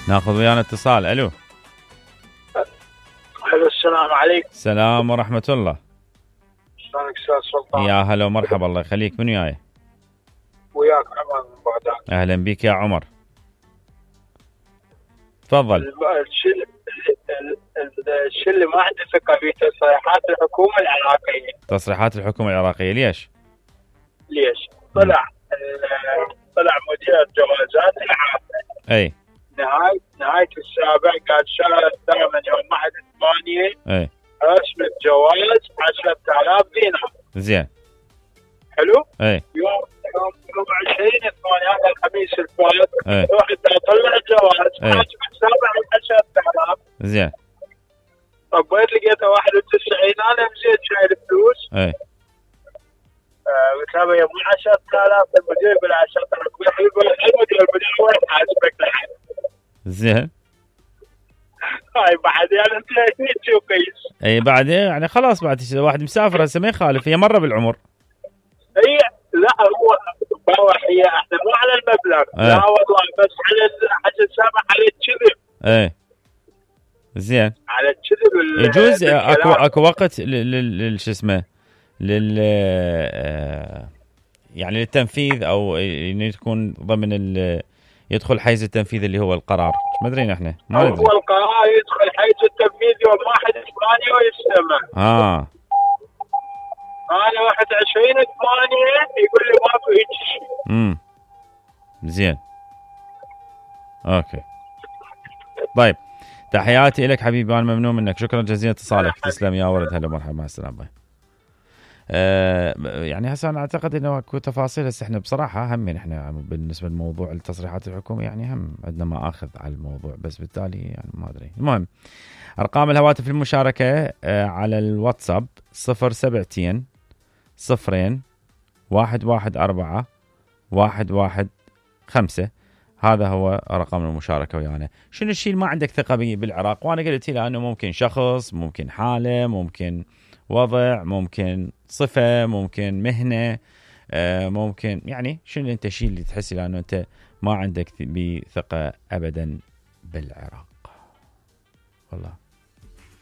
ناخذ ويانا اتصال. الو. السلام عليكم. السلام ورحمة الله. شلونك استاذ سلطان؟ يا هلا ومرحبا، الله يخليك. من وياي؟ وياك عمر من بغداد. اهلا بك يا عمر، تفضل. الشيء اللي ما عندي ثقة فيه تصريحات الحكومة العراقية. تصريحات الحكومة العراقية ليش؟ طلع مدير جوازات العامة. اي. نهاية السابع قال شهر الثامن يوم 1/8. اي. رسم الجواز 10,000 دينار. زين. حلو؟ اي. يوم 20/8 هذا الخميس الفات رحت اطلع الجواز حاسب حسابه على 10,000. زين. طبيت لقيته 91. انا مزيد شايل فلوس. اي. قلت له يا مو 10,000. المدير يقول 10,000. المدير وين حاسبك لحد؟ زين. هاي بعد يعني انت شو قيس؟ اي بعد يعني خلاص، بعد واحد مسافر هسه ما يخالف، هي مره بالعمر. هي لا هو هي احنا مو على المبلغ. لا والله بس على السامع على الكذب. ايه زين. على الكذب يجوز اكو وقت شو اسمه يعني للتنفيذ، او يكون ضمن يدخل حيز التنفيذ اللي هو القرار. ما ادري احنا ما ندري. هو القرار يدخل حيز التنفيذ يوم 1/8 ويستمع. انا 21/8 يقول لي ماكو هيك شيء. زين. اوكي طيب، تحياتي لك حبيبي، انا ممنون منك، شكرا جزيلا اتصالك. تسلم يا ولد، هلا مرحبا، مع السلامه. يعني هسه انا اعتقد انه اكو تفاصيل. هسه احنا بصراحه هم احنا بالنسبه لموضوع التصريحات الحكوميه يعني هم عندنا ما اخذ على الموضوع، بس بالتالي يعني ما ادري. المهم ارقام الهواتف المشاركه على الواتساب 072 0 114 115. هذا هو رقم المشاركة ويانا. شنو الشيء اللي ما عندك ثقة به بالعراق؟ وأنا قلت له أنه ممكن شخص، ممكن حالة، ممكن وضع، ممكن صفة، ممكن مهنة، ممكن يعني شنو أنت الشيء اللي تحس لأنه أنت ما عندك بثقة أبدا بالعراق؟ والله